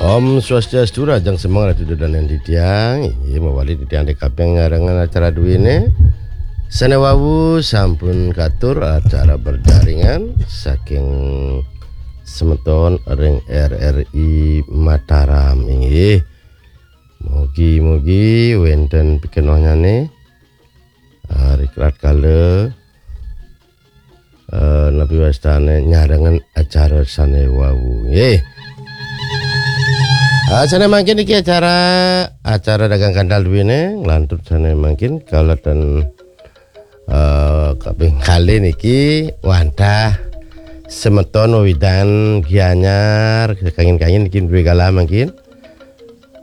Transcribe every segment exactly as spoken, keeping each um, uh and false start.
Om Swastiastu, rahajeng semeng Ratu Dadan titiang. Inggih, mawali titiang D K P nyarengan acara duwene. Sane wau sampun katur acara berjaringan saking semeton ring R R I Mataram, inggih. Mugi-mugi wenten pikenohnyane, eh, rikala, eh, napi wastane nyarengan acara sane wau, nggih. Ah, sane mangkin niki acara, acara dagang kantal duwene, nglantur sane mangkin kalaten, eh, kaping kalih niki wantah semeton wewidangan Gianyar, kangin-kangin niki duwe galah mangkin.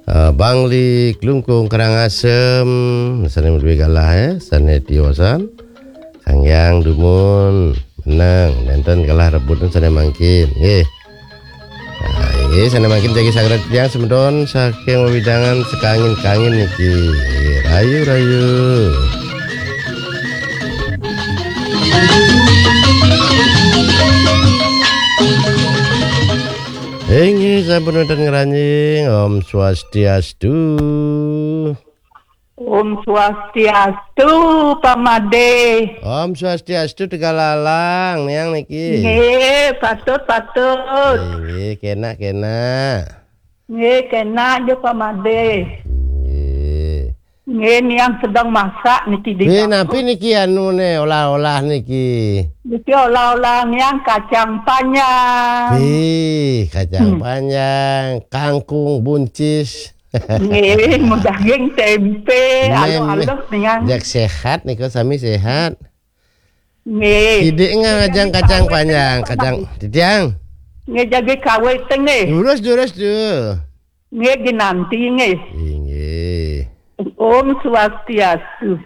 Eh, Bangli, Klungkung, Karangasem, sane duwe galah, eh, sane tiosan. Kanggiang dumun, meneng, nenten galah rebut sane mangkin, nggih. Nah, inggih, sane mangkin jagi saged titiang semeton saking wewidangan sekangin-kangin niki. Nggih, rayu-rayu. Inggih, sampun wonten ngranjing. Om Swastiastu. Om Swastiastu, Pamade. Om Swastiastu, Tegal Alang, niang niki. Nggih, patut, patut. Inggih, kenak-kenak. Nggih, kenak nggih, Pamade. Nggih. Nggih, niang sedang masak niki di dapur. Napi niki anune, olah-olah niki? Niki olah-olah niang kacang panjang. Nggih, kacang Hmm. panjang, kangkung buncis. Nggih, daging tempe, alus-alus niang. Jak sehat niku, sami sehat. Nggih. Sidik ngajeng kacang panjang, kacang titiang. Nggih, jagi kawit nggih. Durus, durus, Du. Nggih, ginanti nggih. Inggih. Om Swastiastu.